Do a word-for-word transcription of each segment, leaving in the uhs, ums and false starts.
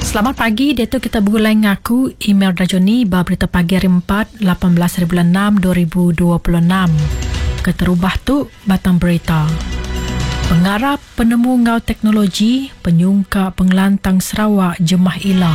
Selamat pagi, dia tu kita bergulai ngaku email Rajoni ba berita pagi hari empat, lapan belas hari bulan enam dua ribu dua puluh enam. Keterubah tu batang berita. Pengarap penemu ngau teknologi penyungka pengelantang Sarawak jemah ila.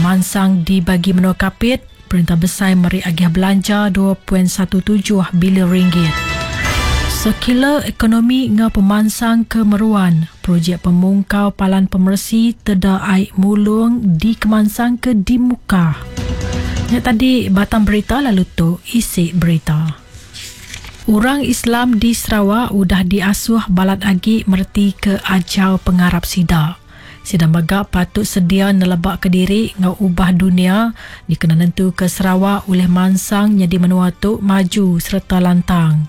Mansang dibagi menua Kapit, perintah besar meri agih belanja dua perpuluhan satu tujuh bilion ringgit. Sekila ekonomi ngau pemansang kemeruan, projek pemungkau palan pemersi teda air mulung di kemansang ke di muka. Nya tadi batang berita lalu tu isi berita. Orang Islam di Sarawak udah diasuh balat agi merti ke ajau pengarap sida. Sida mega patut sedia nelebak ke diri ngau ubah dunia dikena nentu ke Sarawak oleh mansang jadi menua tu maju serta lantang.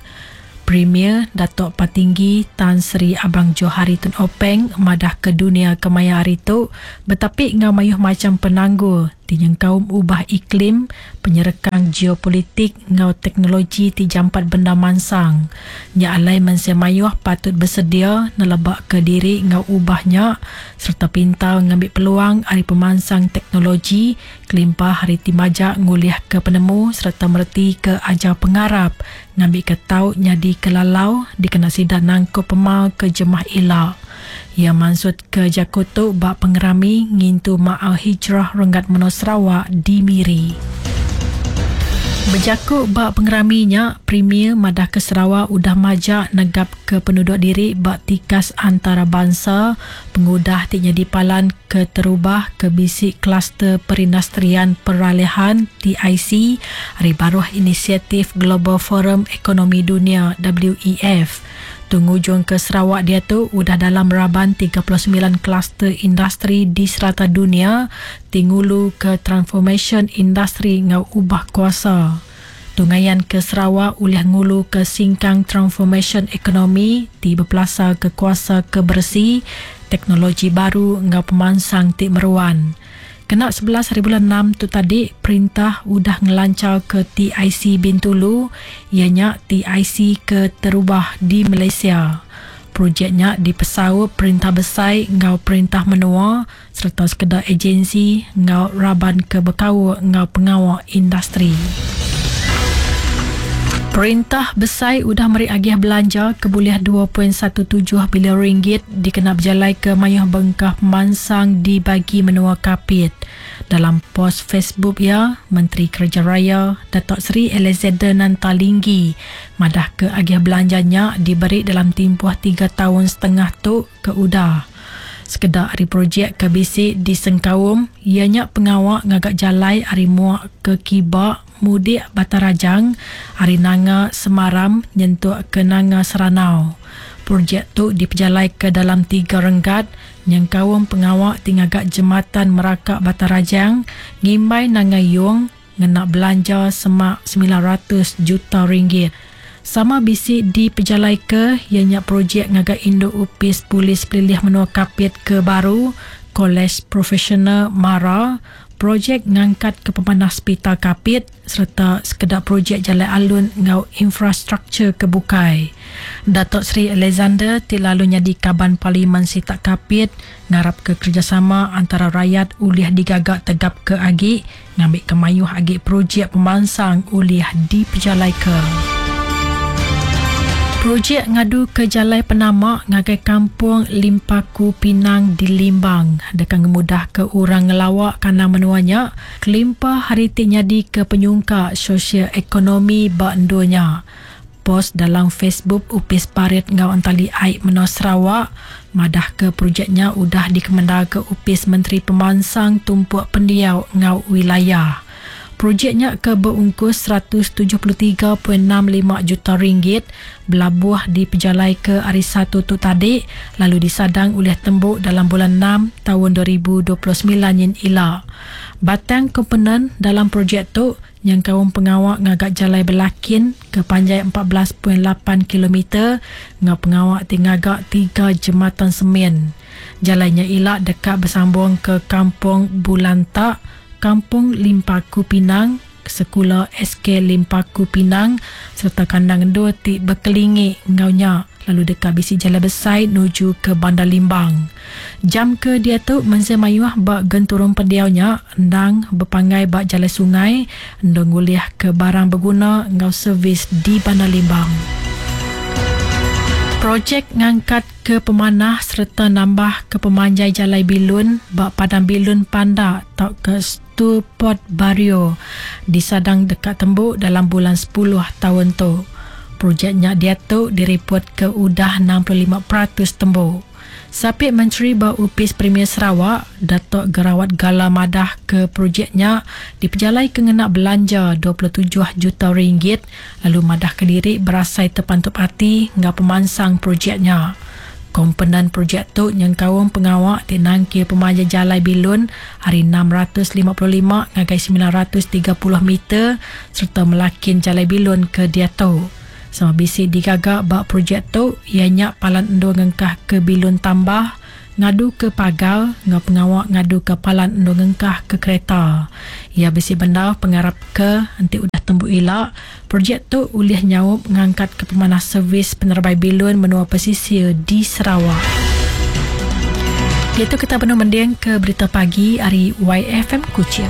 Premier Datuk Patinggi Tan Sri Abang Johari Tun Openg madah ke dunia kemaya hari tu betapik ngau mayuh macam penanggul tinyeng kaum ubah iklim, penyerekang geopolitik ngau teknologi ti jampat benda mansang. Nya alai mensia mayuh patut bersedia nelebak ke diri ngau ubahnya serta pintar ngambil peluang ari pemansang teknologi kelimpah hari ti majak ngulih ke penemu serta mereti ke ajar pengarap ngambil ke tau nyadi kelalau dikena sida nangkup pemal ke jemah ila. Ia maksud ke jakotu bak pengerami ngintu Ma'al Hijrah Renggat Menua Sarawak di Miri. Berjakuk bak pengeraminya, Premier madah ke Sarawak udah majak negap ke penduduk diri bak tikas antarabangsa pengudah ti jadi palan keterubah ke bisik kluster perindustrian peralihan T I C hari baruh inisiatif Global Forum Ekonomi Dunia W E F. Tungujung ke Sarawak dia tu udah dalam raban tiga puluh sembilan kluster industri di serata dunia tingulu ke transformation industri ngau ubah kuasa. Tungayan ke Sarawak ulih ngulu ke singkang transformation ekonomi ti berpelasar ke kuasa kebersih, teknologi baru ngau pemansang ti meruan. Kena sebelas hari bulan enam tu tadi, perintah udah ngelancar ke T I C Bintulu, ianya T I C ke terubah di Malaysia. Projeknya dipesau perintah besar ngau perintah menua serta sekedar agensi ngau raban ke bekau ngau pengawal industri. Perintah besar udah meri agih belanja ke boleh dua perpuluhan satu tujuh bilion ringgit dikena berjalai ke mayuh bengkah pemansang di bagi menua Kapit. Dalam pos Facebook ya, Menteri Kerja Raya Datuk Seri Alexander Nanta Linggi madah ke agih belanjanya diberi dalam tempoh tiga tahun setengah tu ke udah. Sekedar hari projek ke bisik di Sengkaum, ianya pengawak ngagak jalai hari muak ke Kibak, Mudik Batarajang, hari Nanga Semaram, nyentuk ke Nanga Seranau. Projek tu dipejalai ke dalam tiga renggat, nyengkaum pengawak tingagak jematan Merakak Batarajang, ngimbai Nanga Yong, ngena belanja semak sembilan ratus juta ringgit. Sama bisik di pejalai ke, ianya projek ngagak induk upis polis pelilih menua Kapit ke baru, Kolej Profesional Mara, projek ngangkat ke pemanah Hospital Kapit serta sekedar projek jalan alun ngau infrastruktur kebukai. Datuk Seri Alexander ti lalu nyadi kaban Parlimen Sitak Kapit ngarap ke kerjasama antara rakyat ulih digagak tegap ke agi ngambil kemayuh agi projek pemansang ulih dipejalai ke. Projek ngadu ke Jalai Penamak ngagai Kampung Limpaku Pinang di Limbang. Dekan ngemudah ke orang ngelawak kandang menuanya, kelimpah hari ti nyadi ke penyungkak sosial ekonomi bak enduanya. Pos dalam Facebook Upis Parit ngau Entali Aik Menua Sarawak, madah ke projeknya udah dikemendar ke Upis Menteri Pemansang Tumpuk Pendiau ngau Wilayah. Projeknya ke berungkus seratus tujuh puluh tiga perpuluhan enam lima juta ringgit belabuh di pejalai ke hari satu tu tadi lalu disadang oleh tembok dalam bulan enam tahun dua ribu dua puluh sembilan yin ila. Batang komponen dalam projek tu yang kaum pengawak ngagak jalai belakin ke panjai empat belas perpuluhan lapan kilometer ngau pengawak ti ngagak tiga jembatan semen. Jalannya ila dekat bersambung ke Kampung Bulantak, Kampung Limpaku Pinang, Sekolah S K Limpaku Pinang serta kandang dua ti berkelingi ngaunya. lalu deka bisi jalan besai nuju ke Bandar Limbang. Jam ke dia tu mensia mayuh ba genturung pendiaunya endang berpanggai ba jalai sungai endang ngulih ke barang berguna ngau servis di Bandar Limbang. Projek ngangkat ke pemanah serta nambah ke pemanjai jalai bilun ba Padang Bilun Pandak atau ke Stuport Bario disadang dekat tembuk dalam bulan sepuluh tahun tu. Projeknya dia tu direport ke udah enam puluh lima peratus tembuk. Sapit Menteri ba Upis Premier Sarawak, Datuk Gerawat Gala madah ke projeknya dipejalai ke ngena belanja dua puluh tujuh juta ringgit lalu madah ke diri berasai terpantup hati ngau pemansang projeknya. Komponen projek tu nyengkaum pengawak ti nangkir pemanjai jalai bilun hari enam ratus lima puluh lima ngagai sembilan ratus tiga puluh meter serta melakin jalai bilun ke diatu. Sama bisi digagak bak projek tu ianya palan endo ngengkah ke bilun tambah, ngadu ke pagar, ngau pengawak ngadu ke palan endo ngengkah ke kereta. Ia bisi benda pengarap ke enti udah tembu ilak, projek tu ulih nyaup ngangkat ke pemanah servis penerbai bilun menua pesisir di Sarawak. Itu kita penuh mending ke berita pagi hari Y F M Kuching.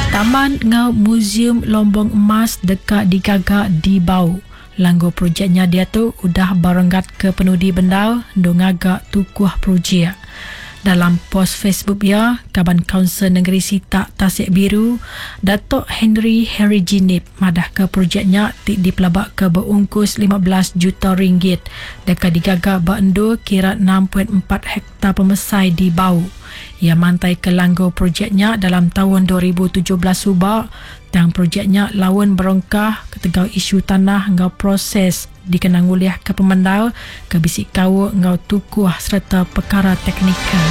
Taman ngau Museum Lombong Emas dekat digagak di Bau. Langgu projeknya dia tu udah barenggat ke penudi bendal ndung agak tukuh projek. Dalam pos Facebook ya, Kaban Kaunsil Negeri Sitak Tasik Biru, Datuk Henry Harry Jinip madah ke projeknya ti dipelabak ke berungkus lima belas juta ringgit. Dekat digagak bak kira enam perpuluhan empat hektar pemesai di Bau. Ia mantai ke langgu projeknya dalam tahun dua ribu tujuh belas subak dan projeknya lawan berongkah ketegau isu tanah ngau proses dikenang uliah ke pemendal ke bisik kau ngau tukuh serta perkara teknikal.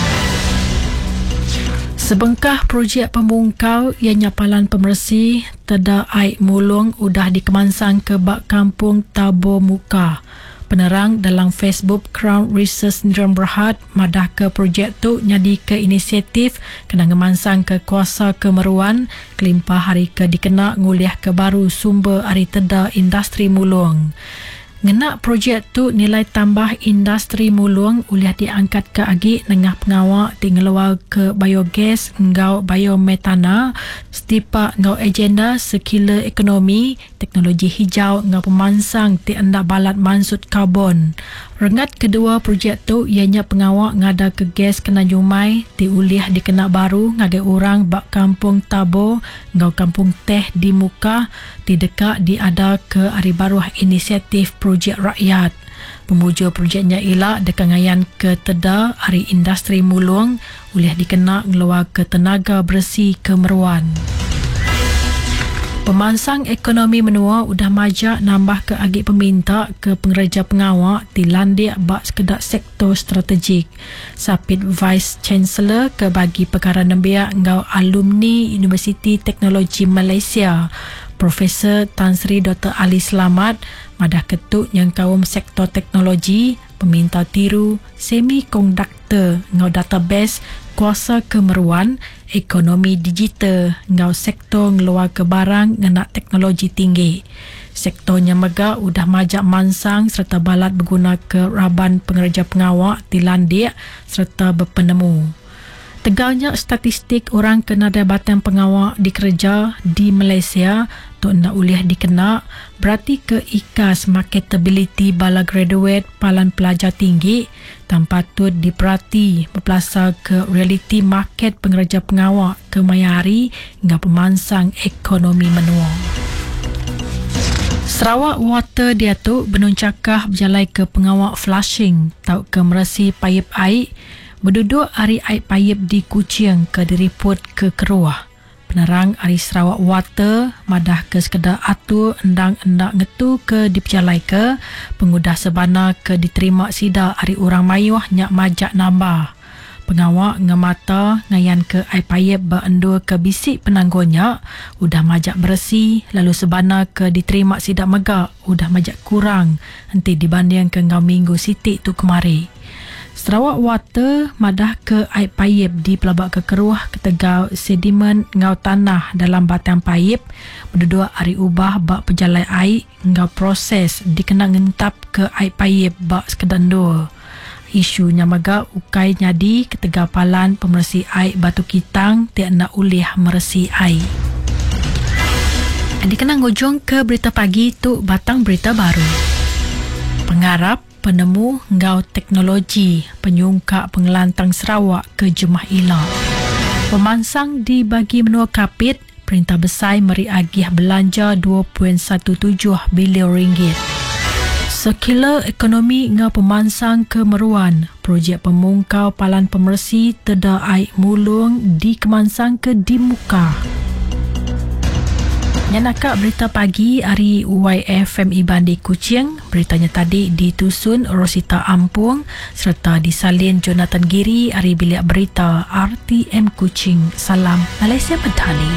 Sebengkah projek pembungkau ianya palan pemersi teda air mulung udah dikemansang ke bak kampung Tabo Muka. Penerang dalam Facebook Crown Research Sdn Berhad madah ke projek tu nyadi ke inisiatif kena ngemansang ke kuasa kemeruan kelimpah hari ke dikena nguliah ke baru sumber hari teda industri mulung. Ngena projek tu nilai tambah industri mulung uliah diangkat ke agi nengah pengawak ti ngeluar ke biogas ngau biometana setipak ngau agenda sekila ekonomi, teknologi hijau ngau pemansang ti enda balat mansut karbon. Rengat kedua projek tu ianya pengawak ngada ke gas kena nyumai ti uliah dikena baru ngagai orang bak kampung Tabo ngau kampung Teh di Muka ti dekat diada ke hari baruh inisiatif projek rakyat. Pemuja projeknya ialah dekangayan ke teda hari industri mulung uliah dikena ngeluar ke tenaga bersih kemeruan. Pemansang ekonomi menua udah majak nambah ke agi peminta ke pengereja pengawak ti landik bak sekedak sektor strategik. Sapit Vice Chancellor ke bagi perkara nembiak ngau alumni Universiti Teknologi Malaysia, Profesor Tan Sri Doktor Ali Selamat madah ketuk yang kaum sektor teknologi, peminta tiru, semikonduktor ngau database kuasa kemeruan, ekonomi digital ngau sektor ngeluar ke barang ngena teknologi tinggi. Sektornya mega udah majak mansang serta balat berguna ke raban pengereja pengawak ti landik serta berpenemu. Tegalnya statistik orang kena batang pengawak dikerja di Malaysia tu nak uliah dikena berarti ke ikas marketability bala graduate palan pelajar tinggi tanpa patut diperhati berpelasar ke reality market pengereja pengawak ke maya hari hingga pemansang ekonomi menua. Sarawak Water dia tu benuncakah berjalai ke pengawak flushing tau ke meresi paip air berduduk hari air paip di Kuching ke diriput ke Keruah. Penerang hari Sarawak Water madah ke sekedar atur endang-endak ngetu ke dipejalai ke pengudah sebana ke diterima sida hari orang mayuh nyak majak nambah. Pengawak ngemata ngayan ke air paip berendur ke bisik penangguhnya udah majak bersih lalu sebana ke diterima sida megak udah majak kurang enti dibanding ke ngau minggu sitik tu kemari. Sarawak Water madah ke air paip di pelabak ke keruh ketegal sedimen ngau tanah dalam batang paip berdua hari ubah bak pejalai air ngau proses dikena ngentap ke air paip bak sekedar dua. Isu nyamaga ukai nyadi ketegal palan pemersi air batu kitang tiak nak ulih meresi air. Dikena ngujung ke berita pagi tu batang berita baru. Pengarap penemu ngau teknologi penyungkak pengelantang Sarawak ke Jemah Ila. Pemansang di bagi menua Kapit, Perintah Besai meri agih belanja dua perpuluhan satu tujuh bilion ringgit. Sekila ekonomi ngau pemansang ke Meruan, projek pemungkau palan pemersi teda air mulung di Kemansang ke Dimuka. Nyanaka berita pagi hari Y F M Iban di Kuching. Beritanya tadi ditusun Rosita Ampung serta disalin Jonathan Giri hari bilik berita R T M Kuching. Salam Malaysia Madani.